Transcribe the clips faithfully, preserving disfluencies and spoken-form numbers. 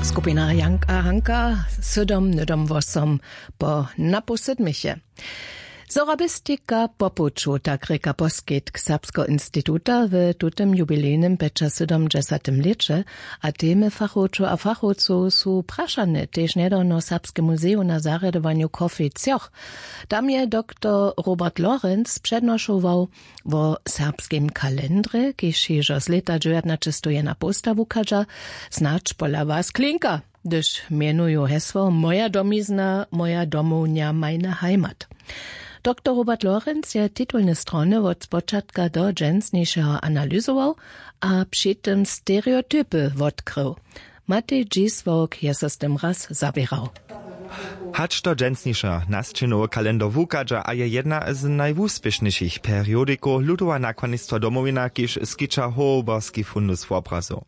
Skupina Janka Hanka, sydom nydom wosom po napoł sydmiche. Sorabistika po puću, tak rěka poskitk Serbskeho instituta w tutym jubilejnym pjećasydomdźesatym lěće. A temy fachowčow a fachowcow su prašane tež njedawno w Serbskem muzeju na zarjadowanju Coffee Cjoch. Tam je doktor Robert Lorenz přednošował wo serbskim kalendrje, kiž hižo z lěta dźewjatnaćestowjenapołsta wuchadźa. Snadź pola was klinka, hdyž mjenuju hesło Moja domizna, moja domownja, meine Heimat. Doktor Robert Lorenz je titulne strony wot spočatka do dźensnišeho analyzował a při tym stereotypy wotkrył. Matej Dźisławk je so z tym raz zaběrał. Hač do dźensnišeho nasćinowy kalendar wuchadźa a je jedna z najwuspěšnjejšich periodikow ludowa nakładnistwa Domowina, kiž skića hołborski fundus wobrazow.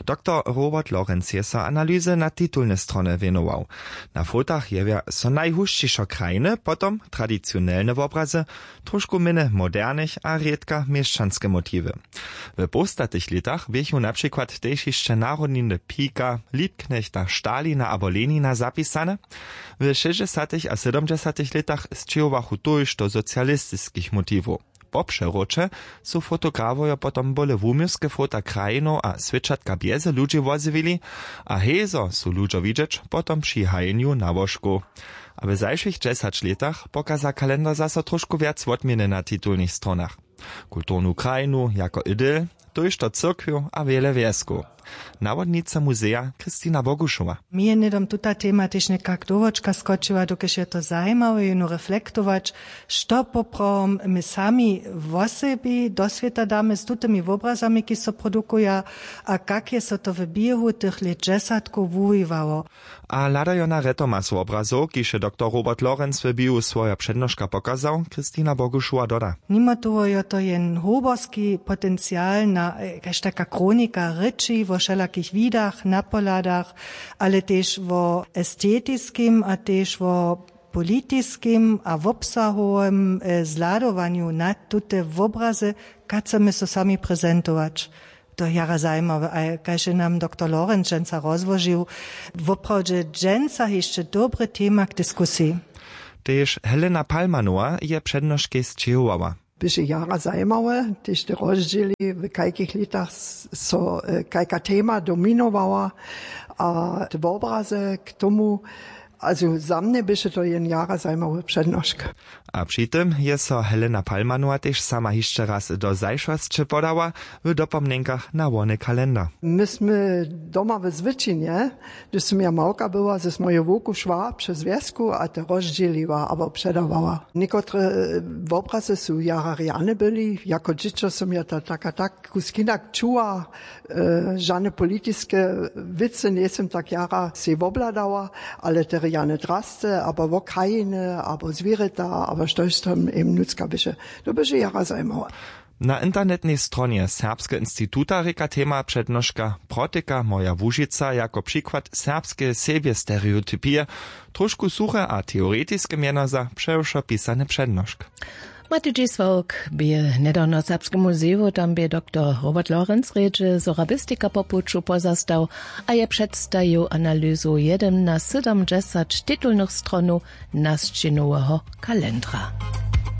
Doktor Robert Lorenz je so analyzy na titulne strony wěnował. Na fotach jewja so najhušćišo krajiny, potom tradicionelne wobrazy, trošku mjenje modernych a rědka měšćanske motiwy. W połstatych lětach běchu na přikład tež hišće narodniny Pika, Liebknechta, Stalina abo Lenina zapisane. W šěsćdźesatych a sydomdźesatych lětach sćěhowachu tójšto socialistiskich motiwow. Po přewróće su fotografojo potom bóle wuměłske fota krajinow a swěćatka bjeze ludźi wozjewili. A hezo su ludźo widźeć potom při hajenju nałožkow. A w zašłych dźesać lětach pokaza kalendar zaso trošku wjac wotměny na titulnych stronach: kulturnu krajinu jako idyl, tójšto cyrkwjow a wjele wjeskow. Nawodnica muzeja Kristina Bogušowa. Mi je hnydom tuta tema tež někak do wočka skočiła, dokelž je to zajimawe jónu reflektować, što poprawom my sami wosebi do swěta damy z tutymi wobrazami, kiž so produkuja, a kak je so to w běhu tych lět dźesatkow wuwiwało. A hladajo na retomas wobrazow, kiž je doktor Robert Lorenz w biju swoja přednoška pokazał, Kristina Bogušowa doda. Nimo toho jo to jen hołborski potencial na kaž taka chronika rěči wo wšelakich widach, napohladach, ale tež wo estetiskim a tež wo politiskim a wobsahowym zhladowanju na tute wobrazy, kaž chcemy so sami prezentować. To je jara zajimawe, a kaž je nam doktor Lorenc dźensa rozłožił, woprawdźe dźensa hišće dobre tema k diskusiji. Tež Helena Palmanowa je přednoškej sćěhowała. Běše jara zajimawe, tež te rozdźěli, w kajkich lětach so kajka tema dominowała, a te wobraze k tomu. Also za mnje běše to jen jara zajimawy přednošk. A při tym je so Helena Palmanowa tež sama hišće raz do zašłosće podała w dopomnjenkach na wony kalendar. My smy doma w zwyčinje, hdyž sym ja małka była, z moju wowku šła přez wjesku a te rozdźěliła abo předawała. Někotre wobrazy su jara rjane byli, jako dźěćo sym ja to tak a tak kusk hinak čuła. Žane politiske wěcy njejsym tak jara sej wobhladała, ale te rjane drasce abo wo krajiny abo zwěrjeta abo štož tam jim nutřka běše, to běše jara zajimawe. Na internetnej stronje Serbskeho instituta rěka tema přednoška: Protyka moja Łužica jako přikład serbskeje sebjestereotypije. Trošku suche a teoretiske mjeno za přewšo pisany přednošk. Matej Dźisławk bě hnydawno w Serbskem muzeju, tam bě doktor Robert Lorenz rědźe sorabistika po puću pozastał a je předstajił analyzu jedyn na sydomdźesać titulnych stronow nasćinoweho kalendra.